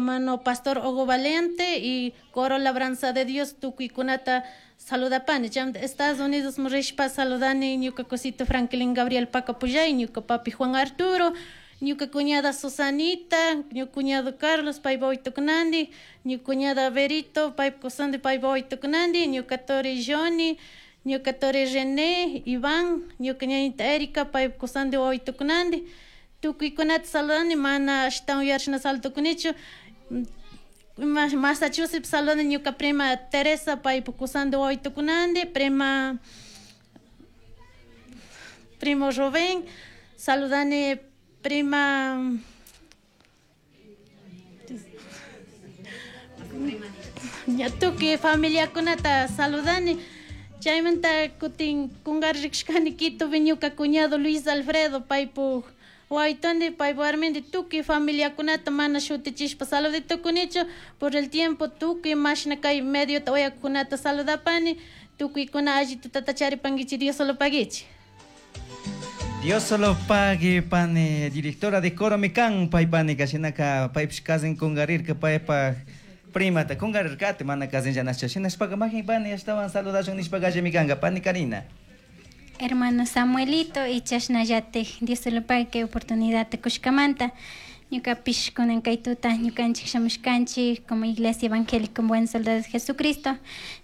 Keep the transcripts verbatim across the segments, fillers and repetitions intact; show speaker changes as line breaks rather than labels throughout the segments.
Hermano Pastor Hugo Valente y Coro Labranza de Dios tukuykunata saludapani. Chaymanta Estados Unidos rishpa saludani ñuka cosito Franklin Gabriel Pacapullay, ñuka papi Juan Arturo, ñuka cuñada Susanita, ñuka cuñado Carlos paypa waytukunandi, ñuka cuñada Berito paypa kusandi paypa waytukunandi, ñuka tori Johnny, ñuka tori René, Iván, ñuka ñañita Erika paypa kusandi wawitukunandi, tukuykunata saludani mana ashtawan yuyarishna salutukunichu. Massachusetts saludani ñuka prima Teresa paypa kusandi wawitukunandi, prima primo Rubén, saludani prima tukuy familiakunata saludani. Chaymanta kutin kungarishkani Quitopi ñuka cuñado Luis Alfredo paypuk waytundi paypa warmindi tukuy familiakunata mana shutichishpa saluditukunichu por el tiempo tukuy mashna kay mediota uyakunata saludapani tukuykuna alli tutata charipankichik Dios solo paguichi.
Dios solo pague pani directora de coro mikan paypani kashinaka paypish kasin kungarirka paypak primata kungarirkati mana kasin llanascha shinashpaka majin pani ashtawan saludashun nishpaka allimi kanka pani Karina.
Hermano Samuelito y chashnallatik Dios solo pague kay oportunidad kushkamanta ñukapish kunan kay tuta ñukanchik shamushkanchik como Iglesia Evangélica Buen Soldado de Jesucristo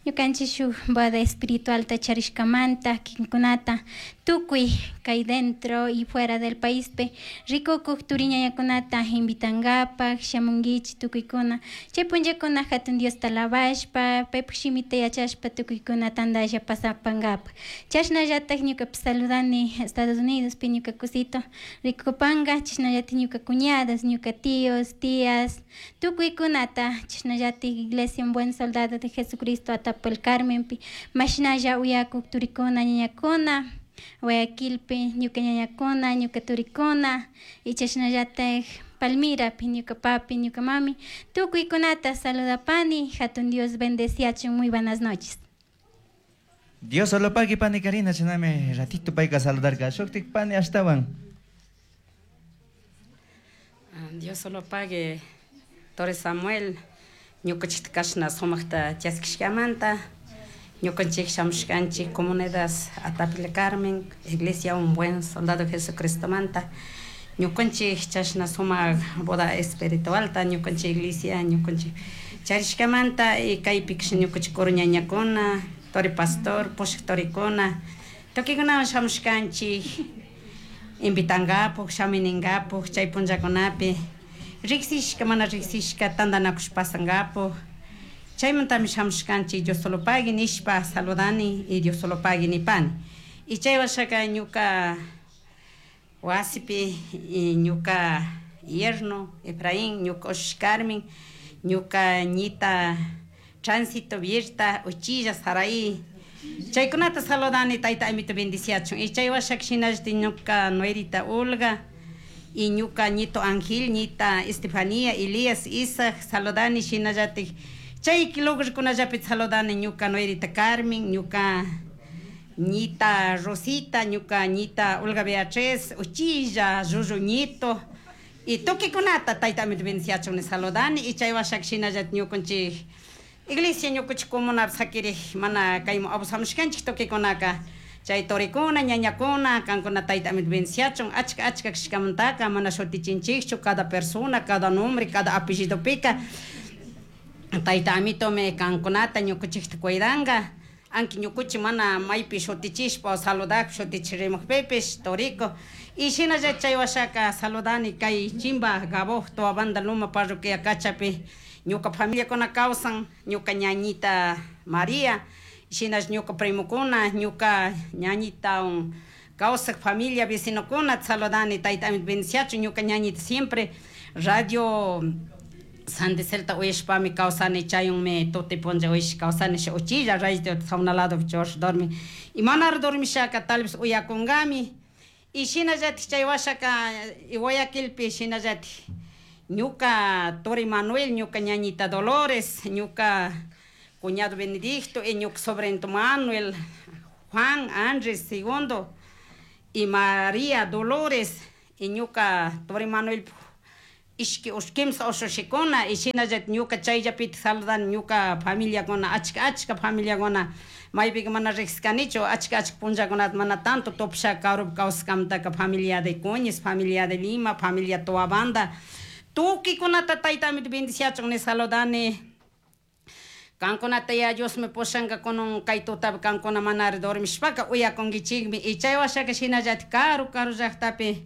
ñukanchik shuk boda espiritualta charishkamanta kikinkunata tukuy kay dentro y fuera del paispi rikukuk turiñañakunata invitangapak shamunkichik tukuykuna chay punllakuna hatun Diosta alabashpa paypak shimita yachashpa tukuykuna tantalla pasapankapak chashnallatak ñukapish saludani Estados Unidospi ñuka kusito rikupanka chashnallatak ñuka cuñadas ñuka tíos, tías, tukuykunata chashnallatik Iglesia Buen Soldado de Jesucristo Atapo el Carmenpi mashnalla uyakuk turikuna ñañakuna Guayaquilpi ñuka ñañakuna ñuka turikuna y chashnallatak Palmirapi ñuka papi ñuka mami tukuykunata saludapani hatun Dios bendeciachun. Muy buenas noches.
Dios solo pague pani Karina chinami ratito payka saludarka shuktik pani ashtawan.
Dios solo pague Torres Samuel ñukanchikta kashna sumakta chaskishkamanta ñukanchik shamushkanchik comunidad Atapil Carmen Iglesia Un Buen Soldado Jesucristomanta ñukanchik chashna sumak boda espiritualta ñukanchik iglesia ñukanchik charishkamanta y kaypi ñukanchik coro ñañakuna tori pastor pushak torikuna tukuykunawan shamushkanchik invitankapuk shamuninkapuk chay punllakunapi riksishka mana riksishka tantanakush pasankapuk chaymantami shamushkanchik Dios solo pague nishpa saludani y Dios solo pague nipani y chay washaka ñuka wasipi y ñuka yerno Efraín ñuka ushushi Carmen ñuka ñita Tránsito Virta Uchilla Saraí chaykunata saludani tayta amito bendiciachun y chay washaka shinallatik ñuka nuerita Olga y ñuka ñito Ángel ñita Estefanía Elías Isaac saludani shinallatik chay lugarkunallapi saludani ñuka nuerita Carmen ñuka ñita Rosita ñuka ñita Olga Beatriz Uchilla Llullu ñito y tukuykunata tayta amito bendiciachun saludani y chay washaka shinallatik ñukanchik iglesia ñukanchik comunapi sakirik mana kayman abusamushkanchik tukuykunaka chay torikuna ñañakuna kankuna tayta amito bendiciachun achka achka kashkamantaka mana shutichinchikchu cada persona cada nombre cada apellidopika tayta amitomi kankunata ñukanchikta cuidanka anki ñukuchi mana maypi shutichishpa saludak shutichirimukpipish toriko y shinalla chay washaka saludani kay chimba Gaboj Toabanda Loma parroquia Cachapi ñuka familiakuna kawsan ñuka ñañita María shinash ñuka primokuna ñuka ñañita kawsak familia vecinokuna saludani tayta amito bendiciachun ñuka ñañita siempre radio San de Celta uyashpami kawsani chayunmi tuti punlla uyash kawsani uchilla radio sauna lado chursh dormi y manara dormishaka tal vez uyakunkami y shinallatik chay washaka Guayaquilpi shinallatik ñuka tori Manuel ñuka ñañita Dolores ñuka cuñado Benedicto y ñuka sobrino Manuel Juan Andrés Segundo y María Dolores y ñuka tori Manuel Ishki kimsa ushushikuna y shinallat ñuka chayllapita saludani ñuka familiakuna achka achka familiakuna maypika mana riqsikanichu achka achka punllakunata mana tanto tupasha karupi kawsashkamantaka familia de Cuñez, familia de Lima, familia Toabanda tukikunata tayta amito bendiciachun ni saludani. Kankunata ya Diosmi pushanka kunan kay tutapi kankuna manari dormishpaka uyakunkichikmi y chay washaka shinallatik karu karu llaqtapi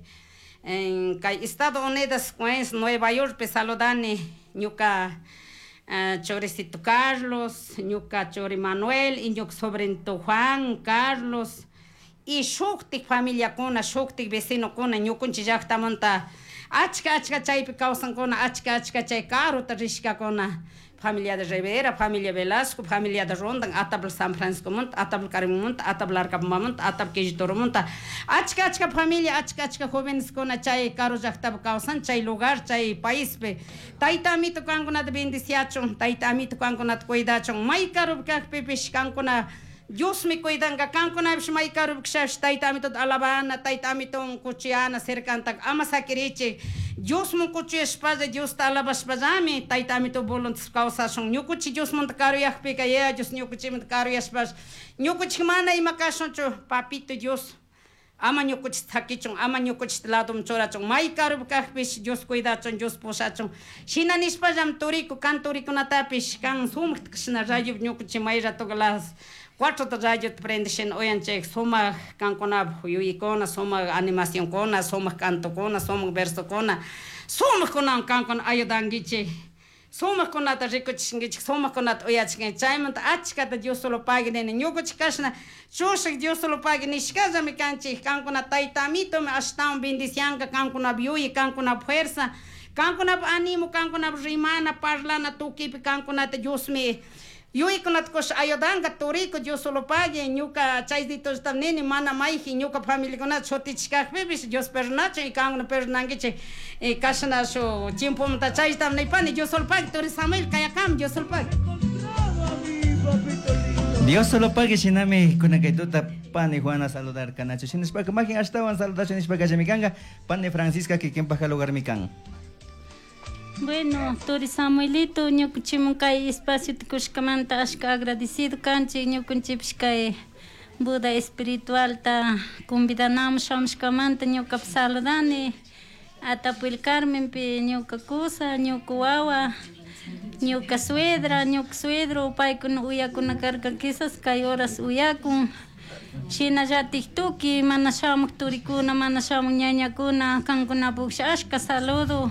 en kay Estados Unidos pues Nueva York saludani ñuka uh, choricito Carlos, ñuka chori Manuel y ñuka sobrinito Juan Carlos y shuktik familiakuna shuktik vecinokuna ñukunchik llaqtamanta achka achka chaypi kawsankuna achka achka chay karuta rishkakuna familia de Rivera, familia Velasco, familia de Rondan, Atabl San Francisco monta, Atabl Carmen monta, Atabl Arcapamba monta, Atabl Quillitoro monta. Achka achka familia, achka achka jóvenes kuna chay karu llaqtapi kawsan chay lugar, chay paispi. Tayta amito kankunata bendiciachun, tayta amito kankunata cuidachun. May karupi kaqpipish kankuna Diosmi cuidanka kankunapish may karupi kashapish tayta amitota alabana, tayta amiton kuchiyana cercantaka ama sakirichik. Diosman kuchuyashpalla Diosta alabashpallami tayta amito voluntad kawsashun. Ñukuchik Diosmanta karuyaqpika ya Dios ñukuchikmanta karuyashpash ñukuchik mana ima kashunchu papito Dios ama ñukuchik thakichun ama ñukuchik ladum churachun may karupi kaqpish Dios cuidachun Dios pushachun shina nishpallam turiku kan turikunatapish kan sumakta kashna radio ñukuchik may ratoka las cuatro radio prendishin uyanchik sumak kankunapuk yuyaykuna sumak animacionkuna sumak cantokuna sumak versokuna sumakkunawan kankuna ayudankichik sumakkunata rikuchishankichik sumakkunata uyachinkichik chaymanta achkata Dios solo pagui nini ñukuchik kashna chushak Dios solo pagui nishkallami kanchik kankuna tayta amitomi ashtawan bendicianka kankunap yuyay kankunap fuerza kankunap animo kankunap rimana parlana tukipi kankunata Diosmi yuyaykunata kush ayudanka turiku Dios solo pagui ñuka chayditollata nini mana mayji ñuka familiakunata shutichikakpipish Dios perdonachun y kankuna perdonankichik y kashna shu tiempomanta chaytam nipani Dios solo pagui turi Samuel kayakam Dios solo pagui.
Dios solo pague shinami kunakaytuta pani Juana saludar kanachu shinashpaka majin ashtawan saludachun nishpaka llamikanga pani Francisca kikinpaja lugarmi kan.
Bueno, turi Samuelito, ñukunchimun kay espacio kushkamanta ashka agradecido kanchik ñukunchipish kay Buda espiritualta convidanamun shamushkamanta ñukapi saludani Atapuil Carmenpi ñuka kusa, ñuka wawa, ñuka suegra, ñuka suegro paykuna uyakuna karka quizás kay horas uyakun shinallatik tuki mana shamuk turikuna mana shamuk ñañakuna kankunapuksh ashka saludo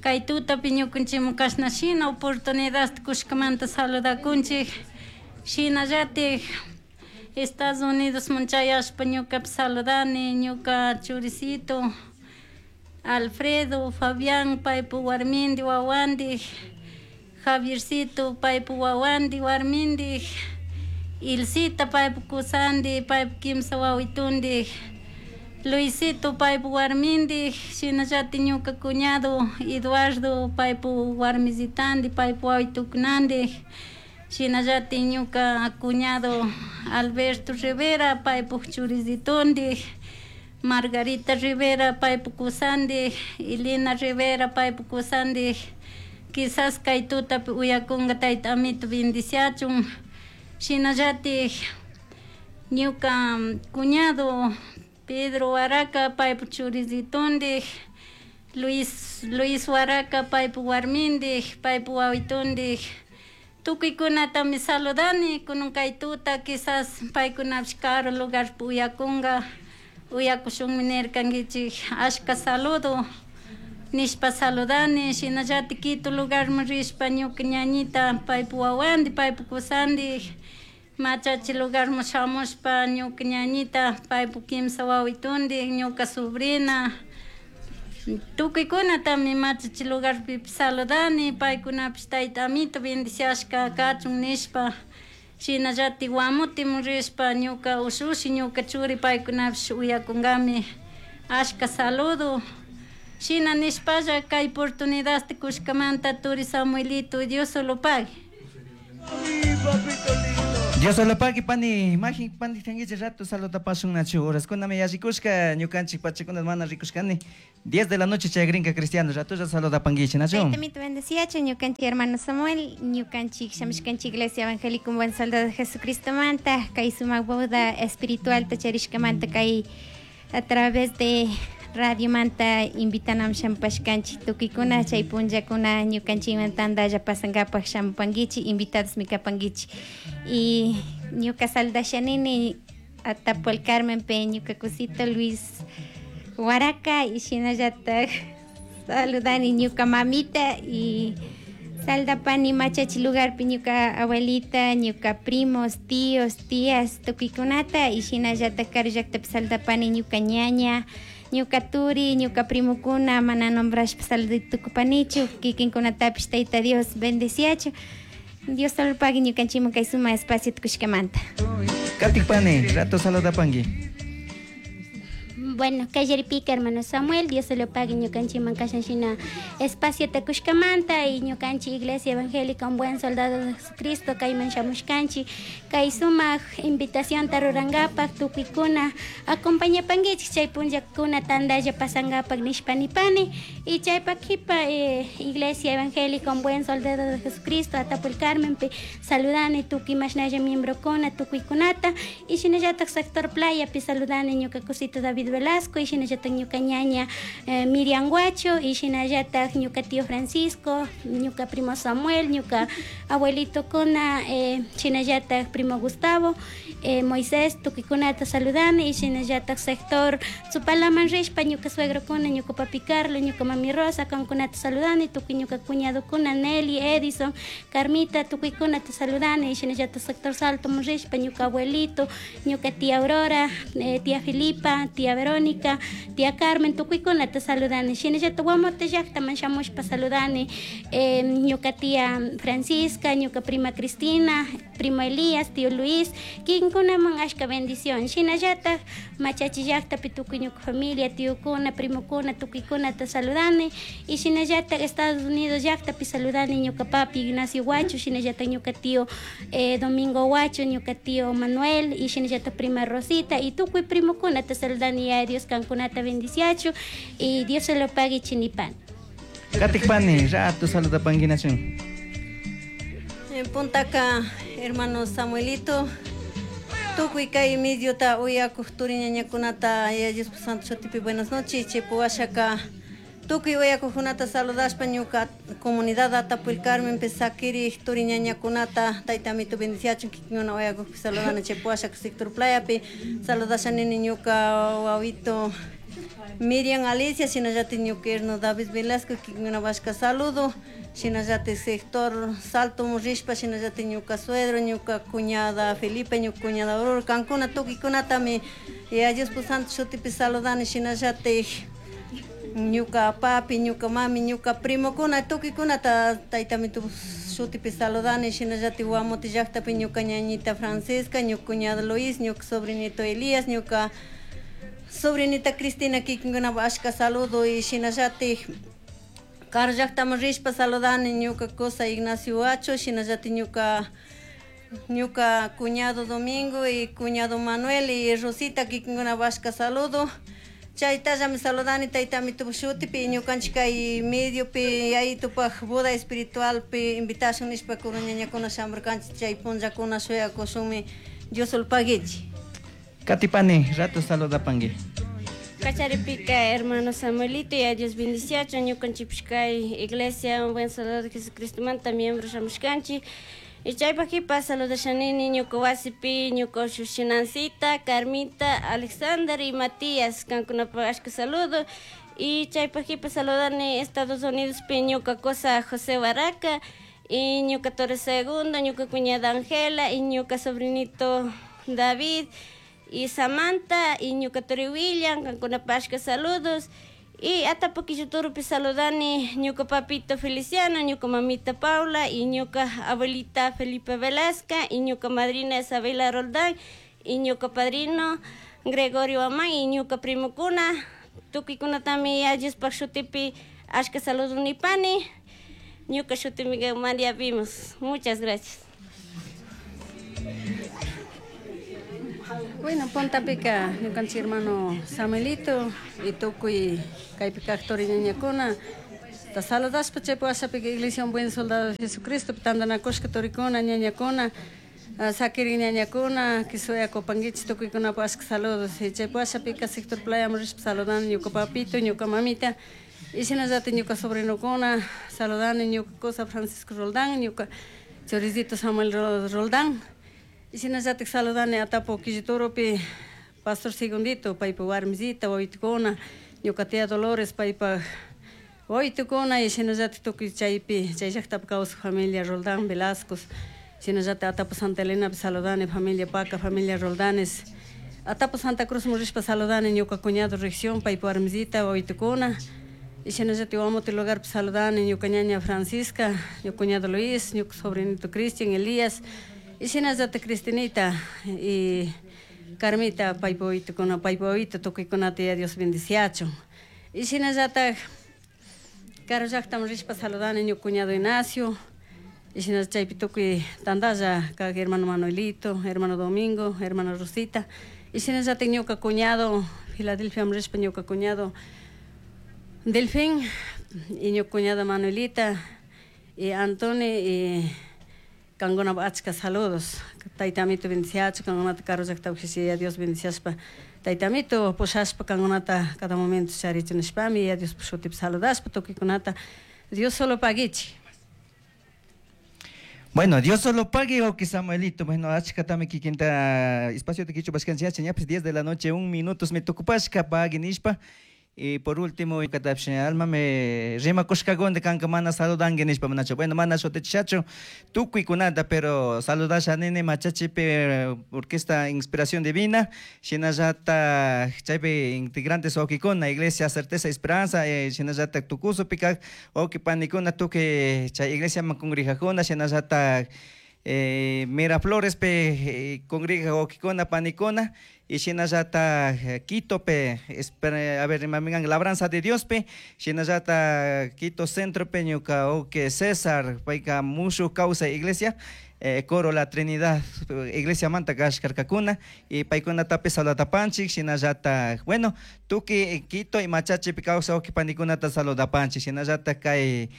kay tutapi ñukunchikman kashna shina oportunidad kushkamanta saludakunchik shinallatik Estados Unidos man chayashpa ñukapi saludani ñuka churicito Alfredo, Fabián paypu warmindi wawandi Javiercito paypu wawandi warmindi Ilcita paypu kusandi paypu kimsa wawitundi Luisito paypu warmindi shinallatik ñuka cuñado Eduardo paypu warmisitandi paypu wawitukunandi shinallatik ñuka cuñado Alberto Rivera paypu churisitundi Margarita Rivera paypu kusandi Elena Rivera paypu kusandi quizás kay tutapi uyakunka tayta amito bendiciachun shinallatik ñuka cuñado Pedro Huaraca paypu churisitundi Luis Luis Huaraca paypu warmindik paypu wawitundik tukuykunatami saludani kunan kay tuta quizás paykunapish karu lugarpi uyakunka uyakushunmi nirkankichik ashka saludo nishpa saludani shinallatik Quito lugarman rishpa ñuka ñañita paypu wawandi paypu kusandik machachi lugarman shamushpa ñuka ñañita paypu kimsa wawitundik ñuka sobrina tukuykunatami machachi lugarpi saludani paykunapish tayta amito bendiciashka kachun nishpa shinallatik Guamutimun rishpa ñuka ushushi ñuka churi paykunapish uyakunkami ashka saludo shina nishpalla kay oportunidadta kushkamanta turi Samuelito Dios solo pague.
Mi papito lindo. Dios solo pagui pani, majin pani tanguiche rato saluda pasun nachu horas kuna me yashikushka ñukanchik pachakuna mana rikushkani diez de la noche chayagrinka cristiano rato ya saluda panguiche nachu.
Taytamito bendeciacho ñukanchik hermano Samuel, ñukanchik shamishkanchik Iglesia Evangélica Un Buen Soldado de Jesucristo manta, kay sumak boda espiritual tacharishkamanta kay a través de Radio Manta invitanam shampashkanchik tukikuna chay punllakuna ñukanchikman tantalla pasankapak shampankichik invitados mikapankichik y ñuka saldashanini Atapo el Carmen pe ñuka cosito Luis Huaraca y shinallatak saludani ñuka mamita y saldapani machachi lugarpi ñuka abuelita ñuka primos tíos tías tukikunata y shinallatak karu llaktapi saldapani ñuka ñaña ñuka turi, ñuka primokuna, mana nombrashpa saludaytukupanichu, kikinkunatapish Tayta Dios bendeciachu. Dios solo pague ñukanchikman kay suma espacio tukushkamanta.
Katikpani, rato saludapanki.
Bueno, kallaripika hermano Samuel, Dios se lo pague ñukanchikman kashanshina espacio takushkamanta y ñukanchik Iglesia Evangélica Un Buen Soldado de Jesucristo kayman shamushkanchik kay sumak invitación tarurangapak tukuykuna acompañapankichik chay punllakuna tantalla pasangapak nishpanipani y chaypak kipa eh, Iglesia Evangélica Un Buen Soldado de Jesucristo Atapo el Carmen pe saludani tukuy mashnalla miembrokuna tukuykunata y shinallatak sector playa pi saludani ñuka cosito David Velasco y shinallatak ñuka ñaña eh, Miriam Guacho y shinallatak ñuka tío Francisco, ñuka primo Samuel, ñuka abuelito kuna eh, shinallatak primo Gustavo, eh, Moisés tukuykunata saludani y shinallatak sector Tzupalaman rishpa ñuka suegro kuna, ñuka papi Carlos, ñuka mami Rosa kankunata saludani, tukuy ñuka cuñado kuna Nelly, Edison, Carmita tukuykunata saludani y shinallatak sector Salto rishpa ñuka abuelito, ñuka tía Aurora, eh, tía Filipa, tía Verónica, tía Carmen, tukuykunata saludani. Shinallata Guamote llaqtaman shamushpa saludani, eh, ñuka tía Francisca, ñuka prima Cristina, primo Elías, tío Luis, kinkunaman ashka bendición. Shinallata machachi llaqtapi tukuy ñuka familia, tíokuna, primokuna, tukuykunata saludani. Y shinallata Estados Unidos llaqtapi saludani ñuka papi Ignacio Guacho, shinallata ñuka tío eh, Domingo Guacho, ñuka tío Manuel, y shinallata prima Rosita, y tukuy primokuna te saludani a Dios kankunata bendiciachu y Dios se lo pague chinipan.
Katikpani, rato saludapanki nachun.
En Puntaca, hermano Samuelito, tukuy kay midyuta uyakuq turi ñañakunata ya Dios santo shutipi buenas noches, chepuwashaka tukuy uyakuqkunata saludashpa ñuka comunidad Atapo el Carmen pesakiri turi ñañakunata taytamito bendiciachun kikinkuna uyakuqpi saludana chepuwashaka sector playapi saludashanini ñuka wawito Miriam Alicia, shinallati ñuka hermano David Velasco kikinkuna washka saludo, shinallati sector Salto rishpa shinallati ñuka suegro, ñuka cuñada Felipe, ñuka cuñada Aurora, kankuna tukuykunatami ya Dios santo shutipi saludani shinallati ñuka papi, ñuka mami, ñuka primokuna tukuykunata taytamito shutipi saludani shinallati Guamote llaqtapi ñuka ñañita Francisca, ñuka cuñado Luis, ñuka sobrinito Elías, ñuka sobrinita Cristina kikinkuna ashka saludo y shinallati karu llaqtaman rishpa saludani ñuka cosa Ignacio Huacho, shinallati ñuka ñuka cuñado Domingo y cuñado Manuel y Rosita kikinkuna ashka saludo. Chaytallami saludani taytamito shutipi ñukanchik kay mediopi yayitupaj boda espiritualpi invitashun nishpa kuru ñañakuna shamurkanchik chay punllakuna shuyakushunmi Dios paguichi.
Katipani, rato saludapanki.
Kacharipika hermano Samuelito y a Dios bendiciacho ñukanchikpish kay Iglesia Un Buen Soldado de Jesucristo manta miembro shamushkanchik y chaypak kipa saludashanini ñuka wasipi ñuka ushushinancita Carmita, Alexander y Matías kankunapak ashka saludo y chaypak kipa saludani Estados Unidos pi ñuka cosa José Barraca y ñuka Torres Segundo, ñuka cuñada Angela y ñuka sobrinito David y Samantha y ñuka turi William kankunapak ashka saludos y Atapo Quilloturupi saludani ñuka papito Feliciano, ñuka mamita Paula y ñuka abuelita Felipe Velasca y ñuka madrina Isabela Roldán y ñuka padrino Gregorio Amán y ñuka primokuna tukuykunatami Diospak shutipi ashka saludo nipani ñuka shutimi María Vimos. Muchas gracias.
Bueno, puntapika ñukanchik hermano Samuelito y tukuy kaypi kaq turiñañakuna ta saludashpa chaypi washapika Iglesia Un Buen Soldado de Jesucristo tantanakushka turikuna ñañakuna sakirin ñañakuna kisuyakupankichik tukuykunapak ashka saludos y chaypi washapika sector Playaman rishpa saludani ñuka papito ñuka mamita y shinallatik ñuka sobrinokuna saludani ñuka kusa Francisco Roldán ñuka choricito Samuel Roldán y shinallatik saludani Atapo Quilliturupi Pastor Segundito paypa warmisita wawitukuna ñuka tía Dolores paypa wawitukuna y shinallatik tukuy chaypi chay llaktapi kawsaq familia Roldán Velasco shinallatik Atapo Santa Elenapi saludani familia Paca familia Roldanes Atapo Santa Cruz rishpa saludani ñuka cuñado Región paypa warmisita wawitukuna y shinallatik Guamote lugarpi saludani ñuka ñaña Francisca ñuka cuñado Luis ñuka sobrinito Cristian Elías y shinallatik Cristinita y Carmita paypa wawitukuna paypa wawita tukuykunata ya Dios bendiciachun y shinallatak karu llaktaman rishpa saludani ñuka cuñado Ignacio y shinallatak chaypi tukuy tantalla kak hermano Manuelito hermano Domingo hermano Rosita y shinallatik ñuka cuñado Filadelfiaman rishpa ñuka cuñado Delfín y ñuka cuñada Manuelita y Antoni y kankunapak achka saludos tayta amito bendiciachun kankunata karu llaktapi ya Dios bendiciashpa tayta amito pushashpa kankunata cada momento charichun nishpami ya Diospa shutipi saludashpa tukuykunata Dios solo paguichik.
Bueno, Dios solo pague o que Samuelito. Bueno, achkatami kikinta espacio de kichu bashkanchik ñapis diez de la noche un minutos me tukupashka pague nishpa. Y por último, alma me rima kushkagonde kanka mana saludangue nishpa manacho. Bueno, mana shotechacho tukuykunata, pero saludasha nene machachipe orquesta Inspiración Divina, shinallata chaypi integrantes wawkikuna, Iglesia Certeza Esperanza, eh, shinallata tukuso pikak wawki panikuna tukuy chay iglesia man congregajuna, shinallata eh, Miraflores pe eh, congrega wawkikuna panikuna. Y shinallata Quito pe, a ver, mamigan Labranza de Dios pe, shinallata Quito Centro pe, ñuka oke César, payka mushu causa iglesia, eh, coro La Trinidad, iglesia manta kashkarkakuna, y paykuna tape saludatapanchik, shinallata, bueno, tuki Quito y Machachi pe causa oke panikunata saludapanchik, shinallata kay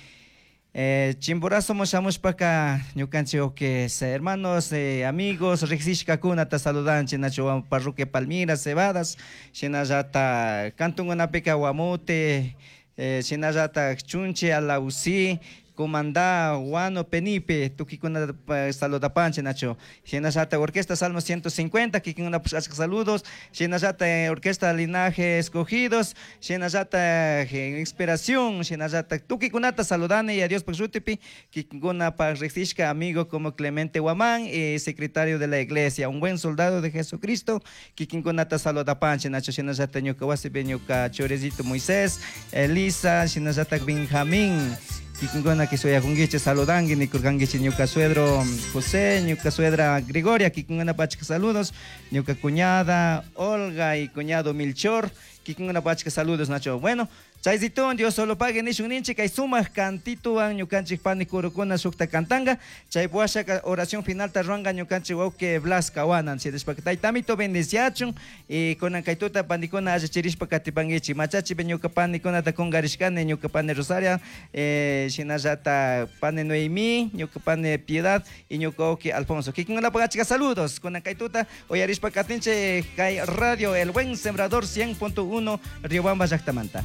Eh, Chimborazo shamushpaka ñukanchik oke hermanos, eh, amigos, riqsishkakunata saludanchik nacho parroquia Palmira, Cebadas, shinallata kantunkunapika Guamote, eh, shinallata Chunche, Alausí, Comandá, Guano, Penipe, tukikuna saludapanchik nacho. Shinallata Orquesta Salmo ciento cincuenta, kikuna achka saludos. Shinallata Orquesta Linaje Escogidos, shinallata Inspiración, shinallata tukikunata saludani y a Dios shutipi, kikuna pa riqsishka amigo como Clemente Guamán, eh, secretario de la iglesia, un buen soldado de Jesucristo, kikinkunata saludapanchik nacho. Shinallata ñuka wasipi ñuka chorezito Moisés, Elisa, shinallata Benjamín, kikinkuna kisuyakunkichik saludanki nikurkankichik ñuka suegro José, ñuka suegra Gregoria, kikinkuna pachka saludos, ñuka cuñada Olga y cuñado Milchor, kikinkuna pachka saludos nacho. Bueno, chayzitun Dios solo pague nishun ninchik kay sumaq kantituwan ñukanchik pani kurukuna shukta kantanga, chay washaka oración final ta ruanga ñukanchik wawqi Blas Kawanan, sidishpaka taytamito bendiciachun y kunan kaytuta panikuna allachirishpa katipankichik machachipi ñuka panikunata kunkarishkani ñuka pani Rosaria, eh, shinallata pani Noemí, ñuka pani Piedad y ñuka wawqi Alfonso. Kikinkunapaq achka saludos kunan kaytuta uyarishpa katinchik kay radio El Buen Sembrador cien punto uno Riobamba llaktamanta.